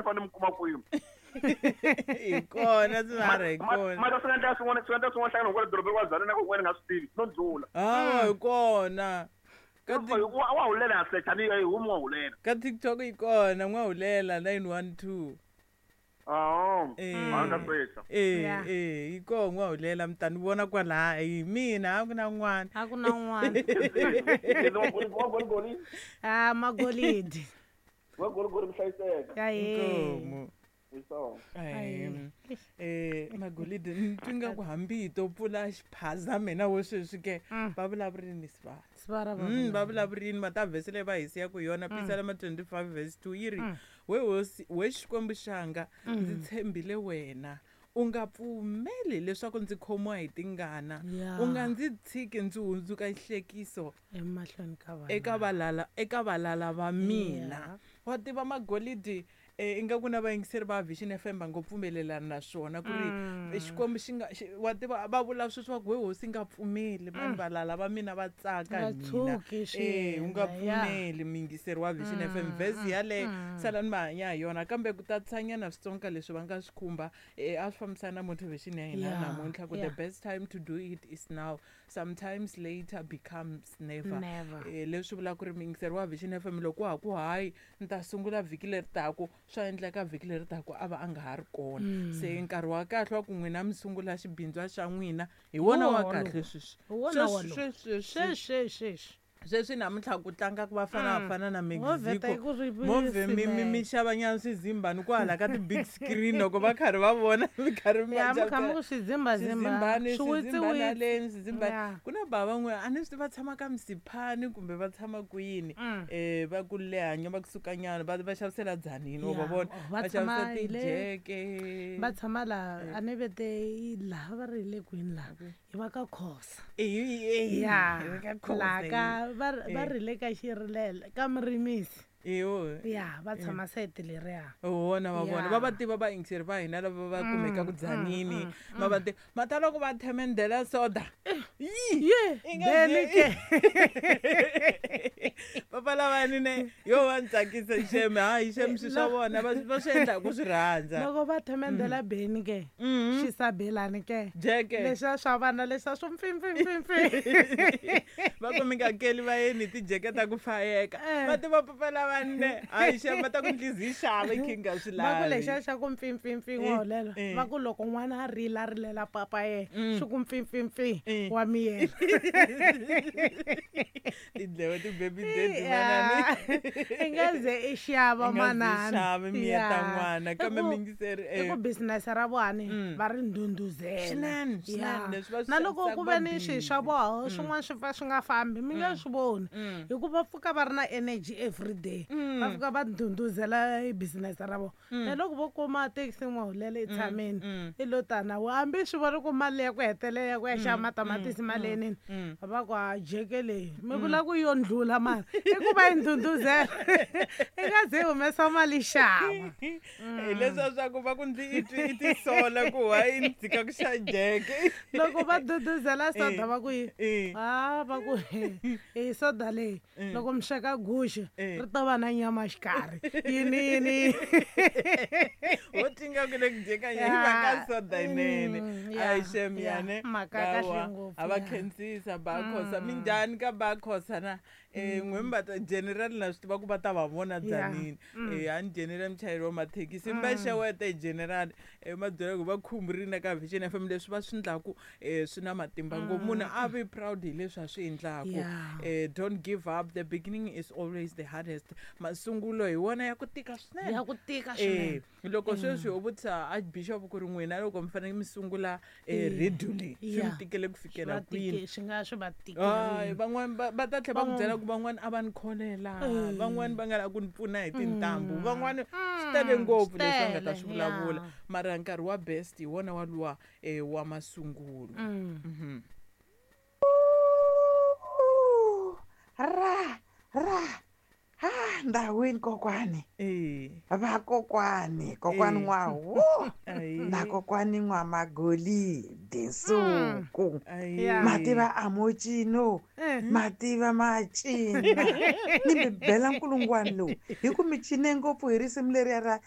fanele mi kuma kwini. Hi kona sivara, hi kona. Mara swi nga endleka swin'wana, swi nga endleka swin'wana hlangana kwala dorobeni wa Tzaneen na ku wena nga swi tivi no ndlula. Hawa, hi kona. Ka Wa hulela ya secha ni yi humi wa hulela. Ka TikTok yi kona n'wahulela 912. Oh. Eh. A nga secha. Eh. Yeah. Eh, yi koho n'wahulela, mi ta ni vona kwalaha, hi mina, a ku na n'wana. A ku na n'wana. Wa goligoli. A magolidi. Wa goligoli, mi hlayiseka. Ya ye. Inkomu. Hi swona. Ahee. Magolidi, ni twi nga ku hambi hi to pfula xiphaza mina wo sweswi ke va vulavurini sivara. Sivara va Va vulavurini ma ta vhese leyi va hi siyaka hi yona, Pisalema 25 verse 2 yi ri: "We hosi, we Xikwembu xanga, ndzi tshembile wena, u nga pfumeli leswaku ndzi khomiwa hi tingana, u nga ndzi tshiki ndzi hundzuka xihlekiso emahlweni ka vanhu, eka valala va mina." Wa tiva magolidi, ingaku na vayingiseri va Vision FM va ngo pfumelelana na swona ku ri Xikwembu xi nga wa tiva va vula sweswi va ku: "We hosi, nga pfumeli vanhu valala va mina va tsaka Nga hi mina." tshuki swi U nga endla, ya. pfumeli, muyingiseri wa Vision FM, vhesi yaleyo salani va hanya hi yona, kambe ku tatisanyana switsonga leswi va nga swi khumba, a swi fambisana na motivation ya hina namuntlha ku the best time to do it is now, sometimes later becomes never. Never. Leswi vulaka ku ri muyingiseri wa Vision FM, loko wa ha ku hayi, ni ta sungula vhiki leri taku, swa endleka vhiki leri taku a va a nga ha ri kona. Se nkarhi wa kahle wa ku n'wina mi sungula xibindzwa xa n'wina hi wona wa Wona kahle lowu. sweswi. Hi wona Sweswi, wolowo. sweswi, sweswi. Sweswi, sweswi. Sweswi namuntlha ku tlanga ku Bafana Bafana na Mo vheta Mexico, ku ri movhe mi xavanyana swizimbani kwahala ka ti-big screen, loko va karhi va vona mi karhi mi Ya, va mi kha mi ku swizimbazimba. swizimbani, swizimbani aleni, swizimbani. Ku na bava n'we, a ni swi tivi va tshama ka Msiphani kumbe va tshama kwini, va ku lehanya va kusukanyana, va xavisela Dzanini, wa va vona. Oh, va Va tshama xavisa hi le- tijeke. Va tshama laha, a ni vete laha va ri hi le kwini laha, hi va ka Khosa. Ya, Hi va ka Khosa, laha ka va ri le ka Xirilela ka Murimisi. Iyo. Ya, va tshama sayiti leriya. Vona va vona. Va tiva vayingiseri va hina lava va kumekaka Dzanini, ma va tiva mata loko va themendela soda. Yi! Ye. I nga Beni ke. Papa lavani ne yo va ni tsakisa xeme, hayi xeme, swi swa vona va swi endla hi ku swi rhandza. Loko va themendela beni ke, xisabelani ke, Jeke. leswiya swa vana leswiya swo mpfimpfimpfimpfi. Va ku mi nga keli vayeni hi tijeke ta ku fayeka. Va tiva papa lavani ne, hayi xeme, va ta ku ndlizi yi xava i kha i nga swi Va ku lavi. lexiya xa ku mpfimpfimpfi, n'wahulela, va ku loko n'wana a rila, a rilela papa yena, xi ku mpfimpfimpfi, wa miyela. Tindleve ti-baby daddy manani. I nga ze i xava I nga ze manani. xavi miyeta n'wana, kambe muyingiseri, I ku business ra vona va ri ndhundhuzela. Swinene, swinene, leswi va swi Na loko xavisaka ku va ve ni swilo swa busy. vona swin'wana swi pfa swi nga fambi, mi nga swi voni, hikuva pfuka va ri na energy everyday, va fika va ndhundhuzela i business ra vona. Na loko vo kuma taxi, n'wahulela, i tshamini, i lo tana hambi swi vona ku mali ya ku hetelela ya ku ya xava matamatisi mali yenini, va ku a jeke leyi mi vula ku yo ndlula mali, i ku va yi ndhundhuzela, i nga ze i humesa mali xava. Hi leswiya swa ku va ku ndzi i twi i tisola ku why ni tshika ku xa jeke. Loko va duduzela soda, va ku yi a va ku i soda leyi, loko mi sweka guxe, ri ta va na nyama xikarhi, yini yini. Wo tinga ku le ku dyeka hi mhaka soda yinene. Ayi xem, yane. Mhaka ya kahle Hawa, ngopfu, a va ya. khensisa Bakhosa, minjhani ka Bakhosa na n'we mi va ta general, na swi tiva ku va ta va vona Dzanini. A ni general muchayeri wa mathekisi, mi va xeweta hi general, ma byela ku va khumburini na ka Vision FM, leswi va swi endlaku swi na matimba ngopfu, munhu a vi proud hi leswi a swi endlaku. Don't give up, the beginning is always the hardest, masungulo hi wona ya ku tika swinene. Ya ku tika swinene. Loko sweswi ho vutisa archbishop ku ri n'wina loko mi fanele mi sungula radio leyi, swi mi tikele ku fikela Swi va kwini? swi nga swi va Hayi, tikerile. van'wani va ta tlhela va ku byela ku van'wani a va ni kholela, van'wani va nga lava ku ni pfuna hi tintambu, van'wani, swi tele ngopfu leswi va nga ta Swi swi tele, vulavula. ya. Mara nkarhi wa best hi wona waluwa wa masungulo. Ra ra ha ndhawini kokwani. Vakokwani, kokwani N'wawu na kokwani N'wamagolidi Nsuku. Mativa a mo cino. Mativa ma cina, ni mi bela nkulungwani lowu hi ku mi cine ngopfu hi risimu leriya ra.